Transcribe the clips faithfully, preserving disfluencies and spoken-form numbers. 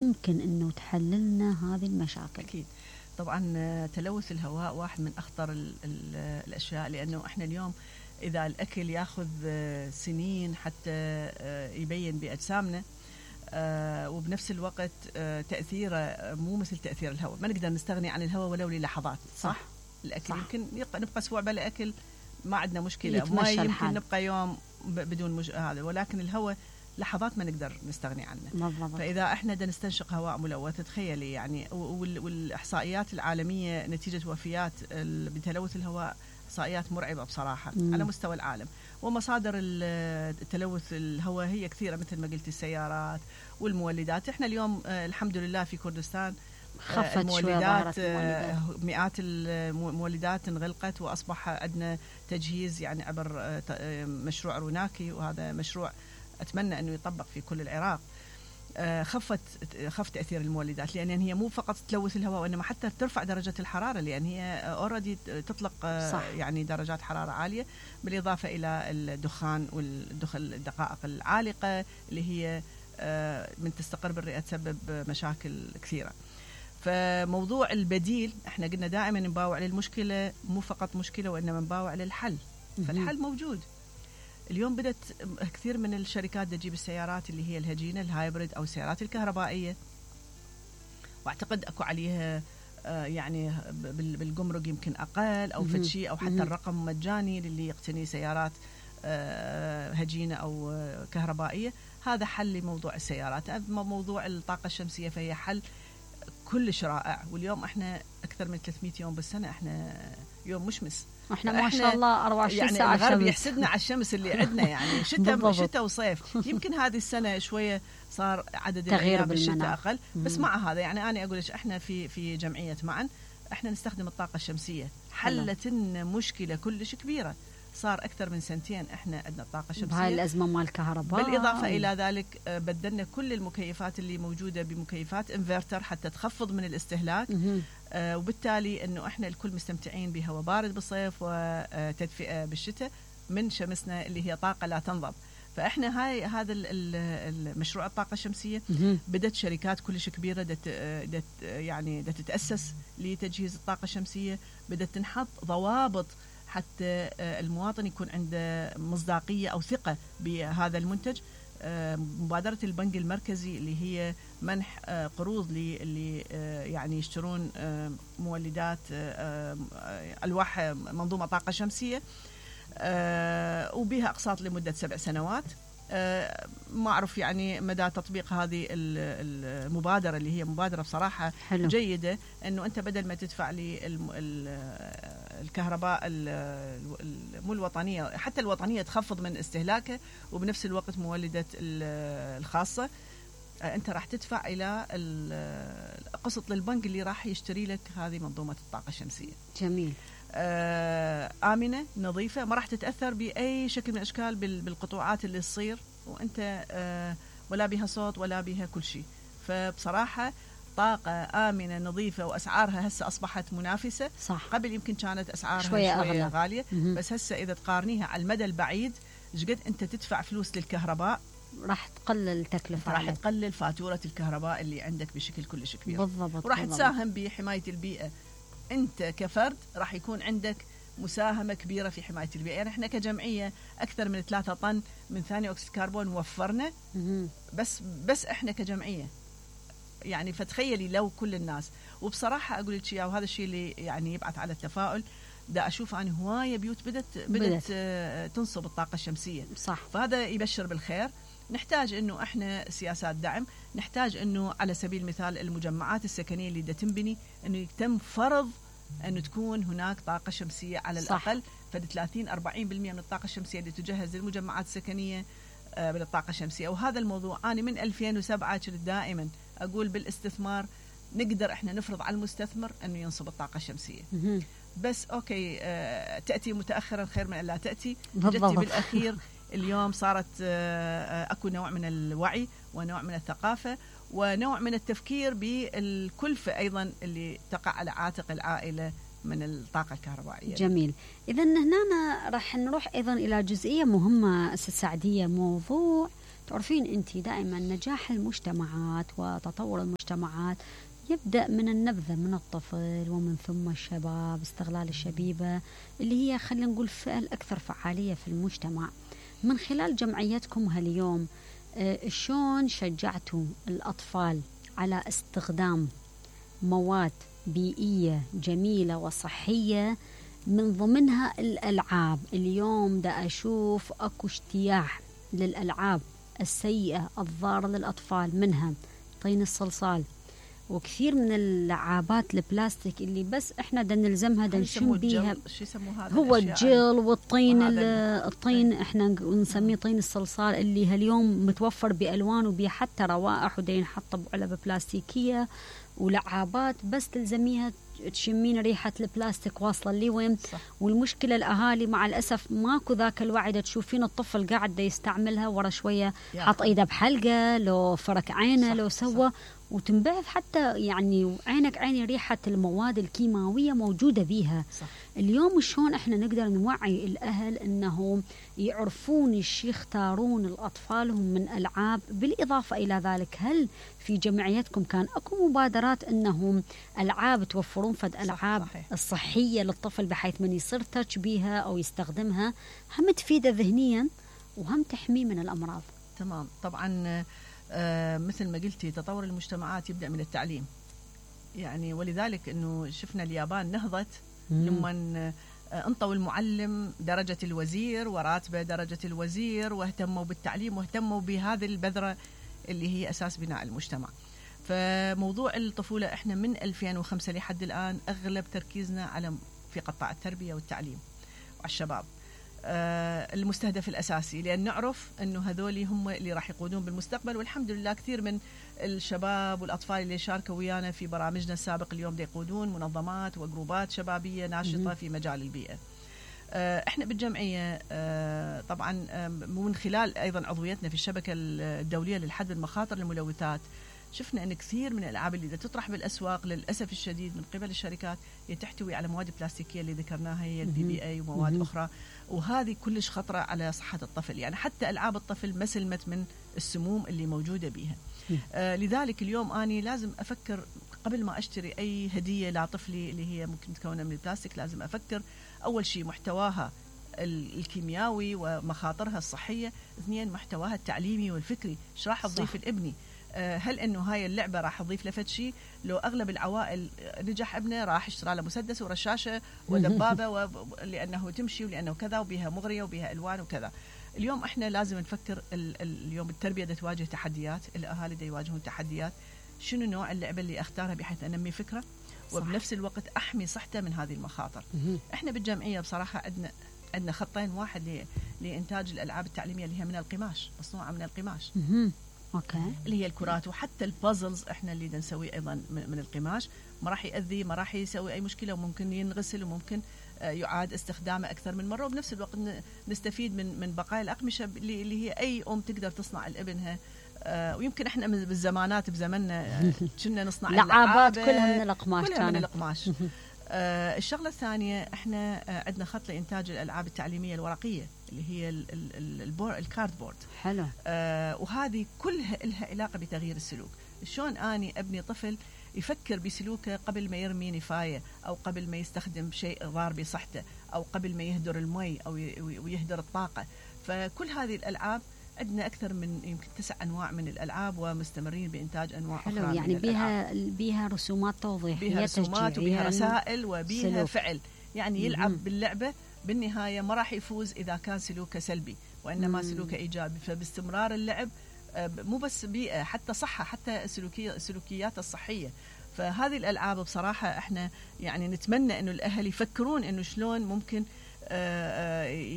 ممكن أنه تحللنا هذه المشاكل؟ أكيد طبعا تلوث الهواء واحد من أخطر ال ال الأشياء، لأنه إحنا اليوم إذا الأكل ياخذ سنين حتى يبين بأجسامنا، وبنفس الوقت تأثيره مو مثل تأثير الهواء. ما نقدر نستغني عن الهواء ولو للحظات. صح, صح؟ الأكل صح. يمكن نبقى أسبوع بلا أكل ما عندنا مشكلة، ما يمكن الحال. نبقى يوم بدون مش... هذا، ولكن الهواء لحظات ما نقدر نستغني عنه. بالضبط. فإذا إحنا بدنا نستنشق هواء ملوث، تخيلي يعني، والإحصائيات العالمية نتيجة وفيات بتلوث الهواء إحصائيات مرعبة بصراحة مم. على مستوى العالم. ومصادر التلوث الهواء هي كثيرة، مثل ما قلت السيارات والمولدات. إحنا اليوم الحمد لله في كردستان خفت المولدات شوية، مئات المولدات انغلقت، وأصبح عندنا تجهيز يعني عبر مشروع روناكي، وهذا مشروع أتمنى أنه يطبق في كل العراق. خفت خف تأثير المولدات، لأن هي مو فقط تلوث الهواء، وإنما حتى ترفع درجة الحرارة، لأن هي أوريدي تطلق صح. يعني درجات حرارة عالية، بالإضافة إلى الدخان والدقائق العالقة اللي هي من تستقر بالرئة تسبب مشاكل كثيرة. فموضوع البديل، احنا قلنا دائما نباوع للمشكلة، مو فقط مشكلة وإنما نباوع للحل. فالحل موجود. اليوم بدأت كثير من الشركات تجيب السيارات اللي هي الهجينة الهايبريد أو السيارات الكهربائية، واعتقد أكو عليها يعني بالجمرك يمكن أقل أو فتشي، أو حتى الرقم مجاني للي يقتني سيارات هجينة أو كهربائية. هذا حل لموضوع السيارات. موضوع الطاقة الشمسية فهي حل كلش رائع. واليوم احنا أكثر من ثلاثمئة يوم بالسنة احنا يوم مشمس، احنا ما شاء الله أربعة وعشرين يعني ساعة الغرب شمس. يحسدنا على الشمس اللي عندنا، يعني شتاء شتاء وصيف. يمكن هذه السنة شوية صار عدد الأيام بالشتاء أقل، بس مع هذا يعني أنا أقول لك احنا في في جمعية معا احنا نستخدم الطاقة الشمسية، حلت لنا مشكلة كلش كبيرة. صار أكثر من سنتين إحنا عندنا الطاقة الشمسية بهاي الأزمة مال الكهرباء. بالإضافة إلى ذلك بدلنا كل المكيفات اللي موجودة بمكيفات انفرتر حتى تخفض من الاستهلاك، آه وبالتالي إنه إحنا الكل مستمتعين بهواء بارد بالصيف وتدفئة بالشتاء من شمسنا اللي هي طاقة لا تنضب. فإحنا هاي هذا المشروع الطاقة الشمسية بدت شركات كلش كبيرة دت دت يعني دت تتأسس لتجهيز الطاقة الشمسية، بدت تنحط ضوابط حتى المواطن يكون عنده مصداقية أو ثقة بهذا المنتج. مبادرة البنك المركزي اللي هي منح قروض اللي يعني يشترون مولدات ألواح منظومة طاقة شمسية، وبها أقساط لمدة سبع سنوات. ما أعرف يعني مدى تطبيق هذه المبادرة اللي هي مبادرة بصراحة حلو. جيدة، أنه أنت بدل ما تدفع لي الكهرباء مو الوطنية، حتى الوطنية تخفض من استهلاكه، وبنفس الوقت مولدة الخاصة أنت راح تدفع إلى قسط للبنك اللي راح يشتري لك هذه منظومة الطاقة الشمسية. جميل. آمنة نظيفة، ما راح تتأثر بأي شكل من الأشكال بالقطوعات اللي تصير، وأنت ولا بها صوت ولا بها كل شيء. فبصراحة طاقة آمنة نظيفة، وأسعارها هسه أصبحت منافسة. صح. قبل يمكن كانت أسعارها شوية, شوية غالية، بس هسه إذا تقارنيها على المدى البعيد شقد أنت تدفع فلوس للكهرباء راح تقلل التكلفة، راح تقلل فاتورة الكهرباء اللي عندك بشكل كلش كبير. بالضبط. وراح تساهم بحماية البيئة. أنت كفرد راح يكون عندك مساهمة كبيرة في حماية البيئة. يعني احنا كجمعية أكثر من ثلاثة طن من ثاني أكسيد الكربون وفرنا، بس بس احنا كجمعية يعني. فتخيلي لو كل الناس. وبصراحة أقول لك، وهذا الشيء اللي يعني يبعث على التفاؤل، دا أشوف أنا هواية بيوت بدت بدت آه تنصب الطاقة الشمسية. صح. فهذا يبشر بالخير. نحتاج إنه إحنا سياسات دعم، نحتاج إنه على سبيل المثال المجمعات السكنية اللي دا تنبني إنه يتم فرض أن تكون هناك طاقة شمسية على الأقل. فد ثلاثين أربعين بالمئة من الطاقة الشمسية اللي تجهز للمجمعات السكنية آه بالطاقة الشمسية. وهذا الموضوع أنا من ألفين وسبعة كنت دائما أقول بالاستثمار نقدر إحنا نفرض على المستثمر أنه ينصب الطاقة الشمسية. بس أوكي، آه تأتي متأخرا خير من أن لا تأتي. جتي بالأخير اليوم صارت آه أكو نوع من الوعي ونوع من الثقافة ونوع من التفكير بالكلفة أيضا اللي تقع على عاتق العائلة من الطاقة الكهربائية. جميل. إذن هنا راح نروح أيضا إلى جزئية مهمة أستاذ سعدية، موضوع تعرفين أنت دائما نجاح المجتمعات وتطور المجتمعات يبدأ من النبذة من الطفل ومن ثم الشباب، استغلال الشبيبة اللي هي خلينا نقول الفئة الأكثر فعالية في المجتمع. من خلال جمعيتكم هاليوم آه شلون شجعتوا الأطفال على استخدام مواد بيئية جميلة وصحية، من ضمنها الألعاب؟ اليوم دا أشوف أكو اجتياح للألعاب السيئة الضارة للأطفال، منها طين الصلصال وكثير من اللعابات البلاستيك اللي بس احنا دا نلزمها دا نشم بيها. شو يسموه هذا؟ هو الجل والطين الطين احنا نسميه طين الصلصال اللي هاليوم متوفر بألوان وبيه حتى روائح ودا ينحط بعلب بلاستيكية ولعابات بس تلزميها تشمين ريحة البلاستيك واصلة لي وين. والمشكلة الأهالي مع الأسف ماكو ذاك الوعي، دا تشوفين الطفل قاعد دا يستعملها ورا شوية حط إيده بحلقة لو فرك عينه لو سوى وتنبعث حتى يعني عينك عيني ريحة المواد الكيماوية موجودة بيها. صح. اليوم شلون احنا نقدر نوعي الأهل أنهم يعرفون ايش يختارون الأطفالهم من ألعاب؟ بالإضافة إلى ذلك هل في جمعيتكم كان أكو مبادرات أنهم ألعاب توفرون فد ألعاب صح الصحية للطفل بحيث من يصير تاتش بيها أو يستخدمها هم تفيده ذهنيا وهم تحميه من الأمراض؟ تمام. طبعا آه مثل ما قلتي تطور المجتمعات يبدأ من التعليم، يعني ولذلك أنه شفنا اليابان نهضت لما انطوا المعلم درجة الوزير وراتبه درجة الوزير واهتموا بالتعليم واهتموا بهذه البذرة اللي هي أساس بناء المجتمع. فموضوع الطفولة احنا من ألفين وخمسة لحد الآن أغلب تركيزنا على في قطاع التربية والتعليم والشباب آه المستهدف الأساسي، لأن نعرف أنه هذول هم اللي راح يقودون بالمستقبل. والحمد لله كثير من الشباب والأطفال اللي شاركوا ويانا في برامجنا السابق اليوم دي يقودون منظمات وجروبات شبابية ناشطة في مجال البيئة. آه احنا بالجمعية آه طبعا آه من خلال أيضا عضويتنا في الشبكة الدولية للحد من مخاطر الملوثات شفنا أن كثير من الألعاب اللي تطرح بالأسواق للأسف الشديد من قبل الشركات تحتوي على مواد بلاستيكية اللي ذكرناها هي البي بي اي ومواد مم. أخرى، وهذه كلش خطرة على صحة الطفل. يعني حتى ألعاب الطفل ما سلمت من السموم اللي موجودة بيها. آه لذلك اليوم أنا لازم أفكر قبل ما أشتري أي هدية لطفلي اللي هي ممكن تكون من البلاستيك، لازم أفكر أول شيء محتواها الكيميائي ومخاطرها الصحية، اثنين محتواها التعليمي والفكري، ايش راح تضيف لابني؟ هل انه هاي اللعبه راح تضيف له شيء؟ لو اغلب العوائل نجح ابنه راح اشترى له مسدس ورشاشه ودبابه و... لانه تمشي ولانه كذا وبها مغريه وبها الوان وكذا. اليوم احنا لازم نفكر ال... اليوم التربيه دا تواجه تحديات، الاهالي دا يواجهون تحديات، شنو نوع اللعبه اللي اختارها بحيث انمي فكره وبنفس الوقت احمي صحته من هذه المخاطر. احنا بالجمعيه بصراحه عندنا عندنا خطين، واحد ل... لانتاج الالعاب التعليميه اللي هي من القماش، مصنوعه من القماش اوكي، اللي هي الكرات، وحتى البازلز احنا اللي نسويه ايضا من القماش، ما راح يأذي، ما راح يسوي اي مشكله، وممكن ينغسل وممكن يعاد استخدامه اكثر من مره، وبنفس الوقت نستفيد من من بقايا الاقمشه اللي هي اي ام تقدر تصنع لابنها. ويمكن احنا بالزمانات بزمننا كنا نصنع لعابات كلها من القماش، كلها من القماش. آه الشغله الثانيه احنا آه عندنا خط لانتاج الالعاب التعليميه الورقيه اللي هي الكاردبورد. حلو. آه وهذه كلها لها علاقه بتغيير السلوك. شلون اني ابني طفل يفكر بسلوكه قبل ما يرمي نفايه، او قبل ما يستخدم شيء ضار بصحته، او قبل ما يهدر المي او ويهدر الطاقه. فكل هذه الالعاب عندنا أكثر من يمكن تسع أنواع من الألعاب، ومستمرين بإنتاج أنواع حلو. أخرى يعني من بيها بيها رسومات توضيحية، بيها رسومات وبيها رسائل وبيها سلوك. فعل، يعني يلعب م-م. باللعبة بالنهاية ما راح يفوز إذا كان سلوكه سلبي، وإنما م-م. سلوكه إيجابي. فباستمرار اللعب مو بس بيئة، حتى صحة، حتى سلوكية سلوكيات الصحية. فهذه الألعاب بصراحة احنا يعني نتمنى إنه الأهل يفكرون إنه شلون ممكن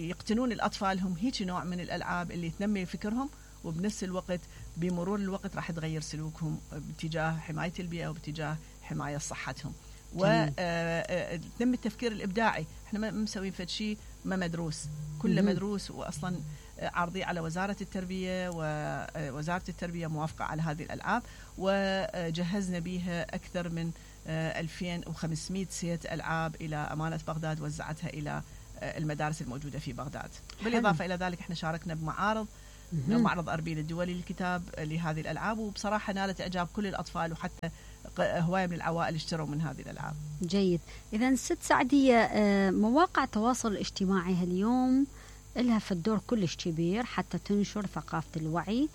يقتنون الأطفالهم هيك نوع من الألعاب اللي تنمي فكرهم، وبنفس الوقت بمرور الوقت راح تغير سلوكهم باتجاه حماية البيئة وباتجاه حماية صحتهم، وتنمي التفكير الإبداعي. احنا ما مسوين فد شيء ما مدروس، كله مدروس، وأصلا عرضي على وزارة التربية، ووزارة التربية موافقة على هذه الألعاب، وجهزنا بها أكثر من ألفين وخمسمائة سيت ألعاب إلى أمانة بغداد، وزعتها إلى المدارس الموجودة في بغداد. بالإضافة إلى ذلك احنا شاركنا بمعارض معرض أربيل الدولي للكتاب لهذه الألعاب، وبصراحة نالت إعجاب كل الأطفال، وحتى هواية من العوائل اشتروا من هذه الألعاب. جيد. إذا ست سعدية، مواقع التواصل الاجتماعي هاليوم لها في الدور كلش كبير حتى تنشر ثقافة الوعي،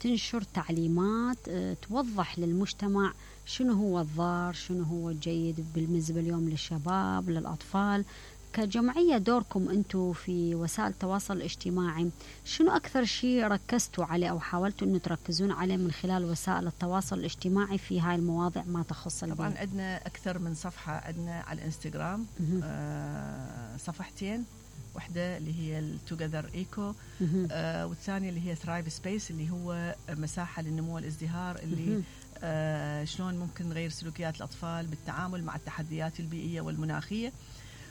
تنشر تعليمات توضح للمجتمع شنو هو الضار، شنو هو الجيد بالنسبة اليوم للشباب للأطفال. كجمعية دوركم أنتم في وسائل التواصل الاجتماعي، شنو أكثر شيء ركزتوا عليه أو حاولتوا أنه تركزون عليه من خلال وسائل التواصل الاجتماعي في هاي المواضيع ما تخص البيئة؟ طبعا عندنا أكثر من صفحة، عندنا على الانستغرام آه صفحتين، واحدة اللي هي التوجذر ايكو، آه والثانية اللي هي ثرايف سبيس اللي هو مساحة للنمو والازدهار، اللي آه شلون ممكن نغير سلوكيات الأطفال بالتعامل مع التحديات البيئية والمناخية.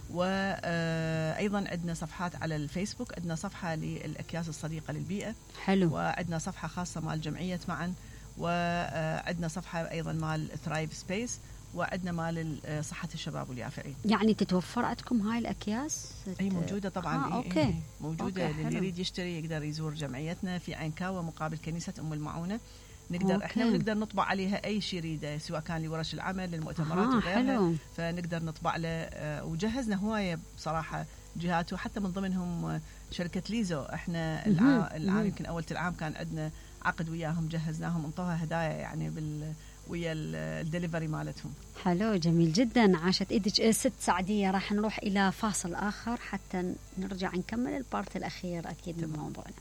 وأيضا عندنا صفحات على الفيسبوك، عندنا صفحة للأكياس الصديقة للبيئة، حلو، وعندنا صفحة خاصة مال جمعية معا، وعندنا صفحة أيضا مال ثرايف سبيس، وعندنا مال صحة الشباب واليافعين. يعني تتوفر عندكم هاي الأكياس؟ أي موجودة طبعا. آه، أوكي. إيه موجودة. أوكي، اللي يريد يشتري يقدر يزور جمعيتنا في عينكاوة مقابل كنيسة أم المعونة. نقدر أوكي. احنا ونقدر نطبع عليها اي شيء يريده، سواء كان لورش العمل للمؤتمرات آه، وغيرها. حلو. فنقدر نطبع له. آه وجهزنا هوايه بصراحه جهات، وحتى من ضمنهم شركه ليزو. احنا العام يمكن اول العام كان عندنا عقد وياهم، جهزناهم، انطوها هدايا يعني بال ويا الدليفري مالتهم. حلو، جميل جدا. عاشت ايدك ست سعدية. راح نروح الى فاصل اخر حتى نرجع نكمل البارت الاخير اكيد من موضوعنا.